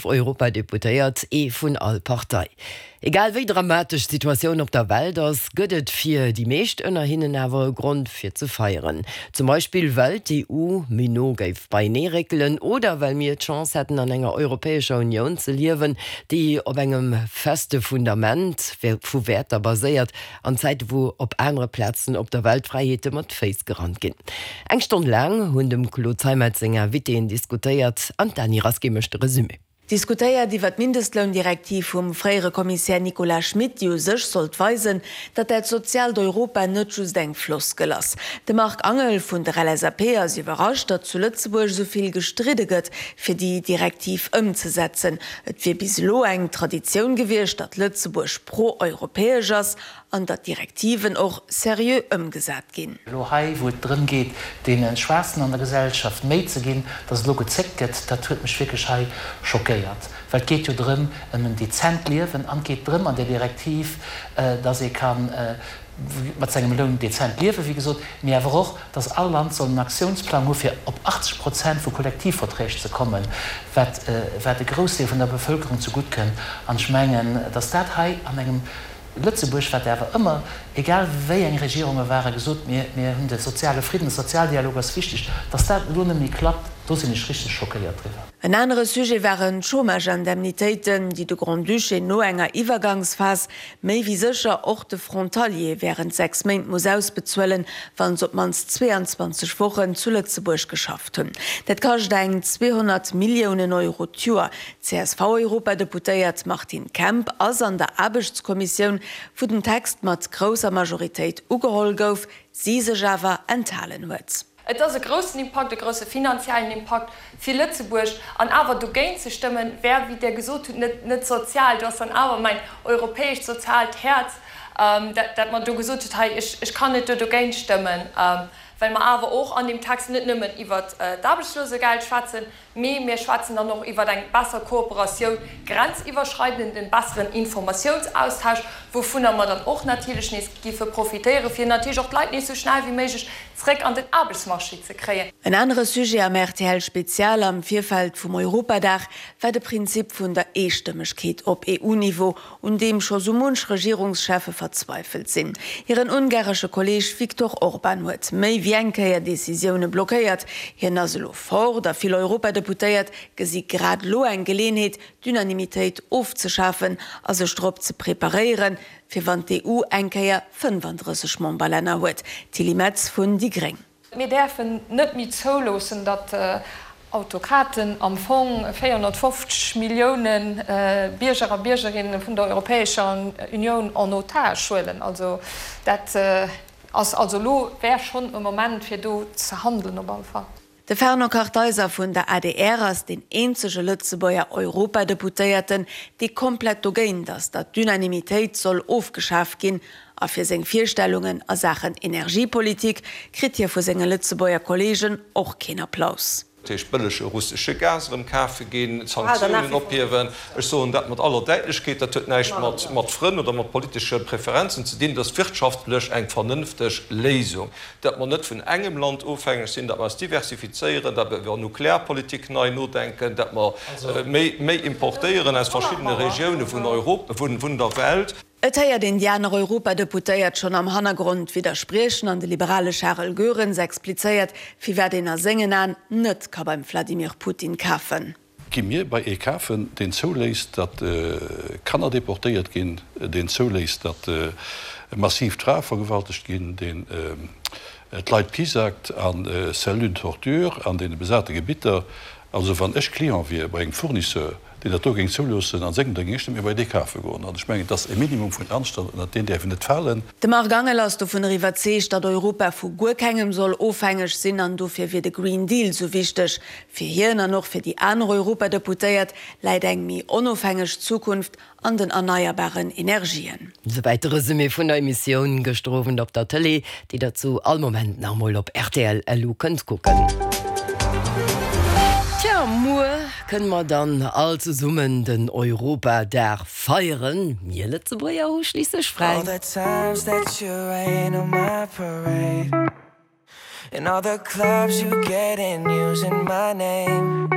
Europadeputéiert, ee vun all Partei. Egal wéi dramatesch d'Situatioun op der Welt ass, gëtt et fir déi meescht ënner hinnen awer e Grond fir ze feieren. Zum Beispill well d'EU méi no géif beienee réckelen oder well mir d'Chance hätten an enger Europäescher Unioun ze liewen, déi op engem feste Fundament vu Wäerter baséiert, an Zäite wou op anere Plazen op der Welt Fräiheete mat Féiss gerannt ginn. Eng Stonn laang hunn dem Claude Zeimetz seng Invitéen diskutéiert an d'Dany Rasqué mécht de Resumé. Diskutéiert iwwer d'Mindestloundirektiv vum fréiere Kommissär Nicolas Schmit, déi u sech sollt weisen, datt dat soziaalt Europa net just eng Floskel ass. De Marc Angel vun der LSAP ass iwwerrascht, datt zu Lëtzebuerg esou vill gestridde gëtt, fir déi Direktiv ëmzesetzen. Et wier bis elo eng Traditioun gewiescht, datt Lëtzebuerg pro-europäesch ass an datt Direktiven och seriö ëmgesat ginn. Elo hei, wou et drëm geet, deene Schwaachsten an der Gesellschaft méi ze ginn, datt elo gezéckt gëtt, dat huet mech wierklech hei schockéiert. Well et geet jo drëm, ëm en dezent Liewen an et geet drëm an där Direktiv, datt ee ka mat sengem Loun dezent liewen, wéi gesot, mee awer och, datt all Land soll en Aktiounsplang hu fir op 80 Prozent vu Kollektivverträg ze kommen, wat wat e Groussdeel vun der Bevëlkerung zegutt kënnt. An ech mengen, datt dat hei an engem Lëtzebuerg, wat awer ëmmer, egal wéi eng Regierunge waren, gesot, mir, mir hunn de soziale Fridden, de Sozialdialog ass wichteg, dass dat elo net méi klappt, do sinn ech richteg schockéiert driwwer. En anere Sujet waren d'Chômage-Indemnitéiten, déi de Grand-Duché no enger Iwwergangsphas méi wéi sécher och de Frontalier wärend 6 Méint muss ausbezuelen, wa se op d'mannst 22 Wochen zu Lëtzebuerg geschafft hunn. Dat kascht eng 200 Milliounen Euro d'Joer. D'CSV-Europadeputéiert Martine Kemp ass an der Aarbechtskommissioun, wou den Text mat grousser Majoritéit ugeholl gouf, si sech awer enthalen huet. Et ass e groussen Impakt, e grousse finanziellen Impakt fir Lëtzebuerg. An awer dogéint ze stëmmen, wär, wéi Dir gesot hutt, net, net sozial. Do ass dann awer mäin europäescht soziaalt Häerz, dat, dat mer do gesot huet, hei, ech, ech kann net do dogéint stëmmen, well mer awer och an deem Text net nëmmen iwwert d'Aarbechtslosegeld schwätzen, Mee mir schwätzen dann och iwwer eng besser Kooperatioun grenziwwerschreidend, en besseren Informatiounsaustausch, wouvunner mer dann och natierlech nees géife profitéieren, fir natierlech och d'Leit nees esou schnell wéi méiglech zréck an den Aarbechtsmarché ze kréien. En anere Sujet am rtl Spezial am Virfeld vum Europadag war de Prinzip vun der Eestëmmegkeet op EU-Niveau, un deem scho sou munch Regierungscheffe verzweifelt sinn. Hiren ungaresche Kolleeg Viktor Orban huet méi wéi eng Kéier Decisioune blockéiert. Hien ass elo fort a vill Europadeputéiert gesi grad elo eng Geleenheet, d'Unanimitéit ofzeschafen a sech drop ze preparéieren, fir wann d'EU eng Kéier 35 Memberlänner huet. Tilly Metz vun déi gréng. Mir däerfen net méi zouloossen, datt Autokraten am Fong 450 Millioune Bierger a Biergerinne vun der Europäescher Unioun en otage huelen. Also dat ass also elo wär schonn e Moment fir do ze handelen op alle Fall. De Fernand Kartheiser vun der adr ass deen eenzege Lëtzebuerger Europadeputéierten, dee komplett dogéint ass, datt d'Unanimitéit soll ofgeschaf ginn. A fir seng Virstellungen a Saachen Energiepolitik kritt hie vu senge Lëtzebuerger Kolleegen och keen Applaus. Dat heescht bëllege russesche Gas erëm kafe ginn, d'Sanktiounen ophiewen. Ech soen dat mat aller Däitlechkeet, dat huet näischt mat Frënn oder mat politesche Preferenzen ze dinn. Dat ass wirtschaftlech eng vernënfteg Léisung, datt mer net vun engem Land ofhängeg sinn, datt mer eis diversifizéieren, datt mer iwwer Nuklearpolitik nei nodenken, datt mer méi importéieren aus verschiddene Regioune vun Europa, vun der Welt. Et héiert een déi aner Europadeputéiert schonn am Hannergrond widderspriechen an de liberale Charel Goerens explizéiert, firwat een a sengen Aen net ka beim Vladimir Putin kafen. Gi mir bei ee kafen, deen zouléisst, datt Kanner deportéiert ginn, deen zouléisst, datt massiv d'Frae vergewaltegt ginn, deen d'Leit piesackt a Cellules de torture an deene besate Gebitter? Also wann ech Client wier bei engem Fournisseur, deen dat do géing zouloossen an sengem, da géing ech net méi bei dee kafe goen. An ech mengen, et ass e Minimum vun Anstand, ënnert deen däerf een net falen. De Marc Angel ass dovunner iwwerzeegt, datt Europa vu guer kengem soll ofhängeg sinn an dofir wier de Green Deal sou wichteg. Fir hien an och fir déi aner Europadeputéiert läit eng méi onofhängeg Zukunft an den erneierbaren Energien. Souwäit de Resumé vun der Emissioun gëschter Owend op der Tëlee, déi der zu all Moment nach emol op rtl LU kënnt kucken. Tja, muer kënne mer dann all zesummen den Europadag feieren. Mir Lëtzebuerger hu schliisslech fräi. All the times that you rain on my parade And all the clubs you get in using my name.